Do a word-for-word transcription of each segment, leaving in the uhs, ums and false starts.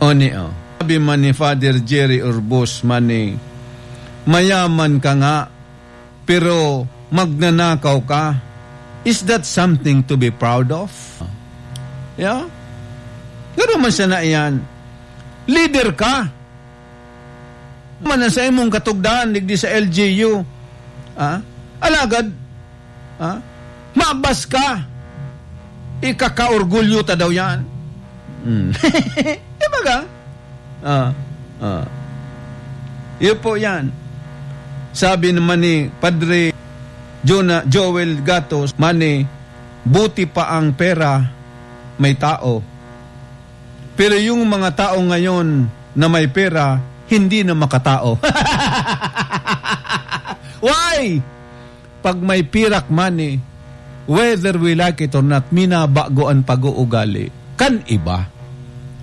Oni, oh. Sabi man ni Father Jerry Urbos, mani, "Mayaman ka nga, pero magnanakaw ka. Is that something to be proud of?" Yeah? Gano'n man siya na iyan. Leader ka. Man ang sa imong katugdaan, digdi sa L G U. Ah? Alagad, ah? Mabas ka. Ikakaorgulyo ta daw yan. Hmm. Di ba ka? Ah, ah. Yun po yan. Sabi naman ni Padre Jona-, Joel Gatos, mani, "Buti pa ang pera, may tao. Pero yung mga tao ngayon na may pera, hindi na makatao." Why? Pag may pirak money, whether we like it or not, minabago an pag-uugali kan iba.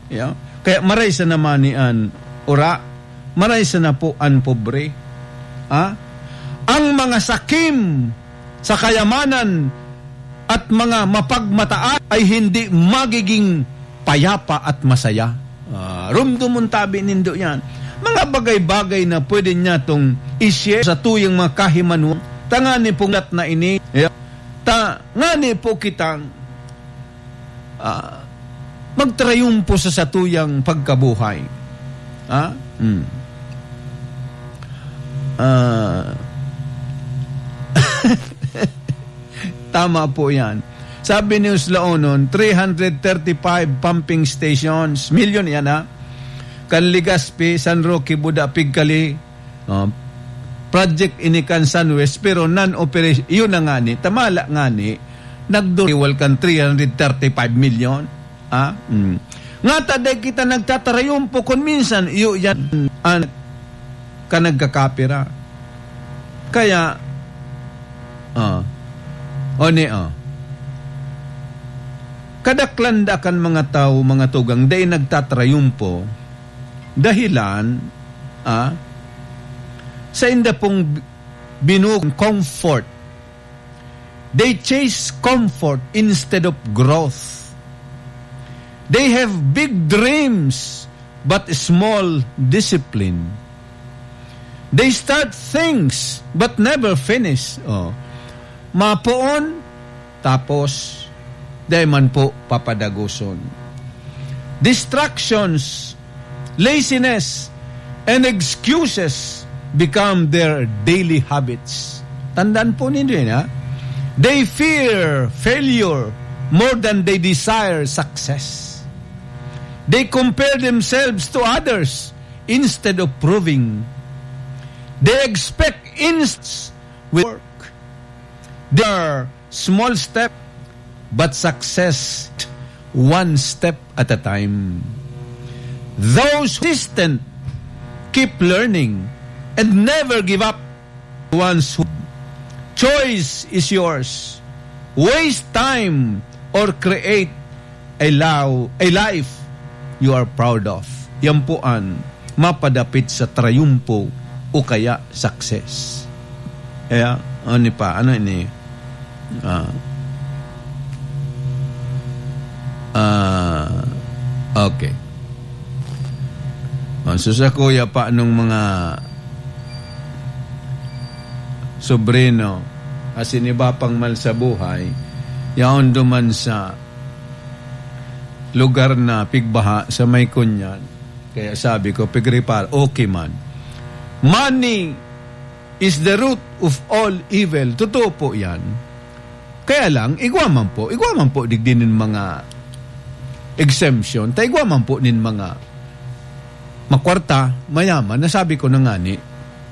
Yeah? Kaya maray sa naman ni an ura, maray sa na po an pobre. Ha? Ang mga sakim sa kayamanan at mga mapagmataan ay hindi magiging payapa at masaya. Ah, rumdumon tabi nindo yan. Mga bagay-bagay na pwede niya tong i-share sa tuyang mga kahimanuan. Tangani pong lat na ini. Yeah. Ta, ngani po kitang, ah, magtrayumpo sa satuyang pagkabuhay. Ha? Hmm. Ah. Tama po yan. Sabi ni Uslaonon, three hundred thirty-five pumping stations. Milyon yan, ha? Kan Legazpi, San Roque, Buda, Pigcali. Oh, project ini kan San West, pero non-operation. Yun na nga ni. Tamala nga ni. Nagduriwal kan three hundred thirty-five million. Ha? Mm. Ngata dai kita nagtatarayumpo kun minsan, iyo yan an ka nagkakapira. Kaya, ah, oni, ah. Kadaklan da kan mga tawo, mga tugang, dai nagtatarayumpo, dahilan, ah, sa inda pong binuong comfort. They chase comfort instead of growth. They have big dreams but small discipline. They start things but never finish. Oh. Mapoon, tapos dai man po papadagoson. Distractions, laziness, and excuses become their daily habits. Tandaan po ninyo yan, ha? They fear failure more than they desire success. They compare themselves to others instead of proving. They expect inst- with work. They are small step, but success one step at a time. Those persistent, keep learning, and never give up. Ones who choice is yours. Waste time or create a, lao- a life you are proud of. Yan po an mapadapit sa trayumpo o kaya success. Kaya, ano pa? Ano ini? Ah. Ah, okay. Oh, so sa kuya pa nung mga sobrino, asin iba pang mal sa buhay, yaon duman sa lugar na pigbaha sa may kunyan. Kaya sabi ko, "Pigripar, okay man." Money is the root of all evil. Totoo po yan. Kaya lang, igwa man po, igwa man po digdi nin mga exemption, ta igwa man po nin mga makwarta, mayaman, nasabi ko na ngani,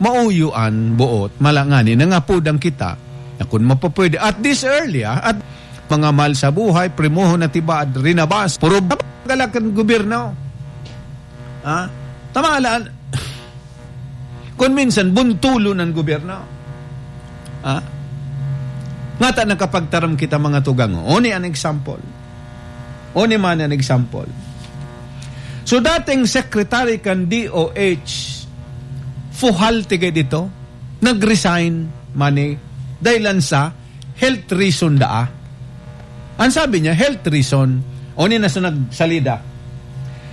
mauyo an boot, mala ngani, nangapodan kita, na kun mapapwede, at this early, ah, at mga mahal sa buhay, primohon na tibaad, rinabas, puro galakan gobyerno. Ah, tama lang. Kun minsan, buntulon an gobyerno. Ah? Ngata nakapagtaram kita, mga tugang. Oni an example. Oni man an example. So, dating secretary kan D O H, fuhal tigay dito, nag-resign, mani, dahilan sa health reason daa. Ang sabi niya, health reason. Oni na sa nagsalida.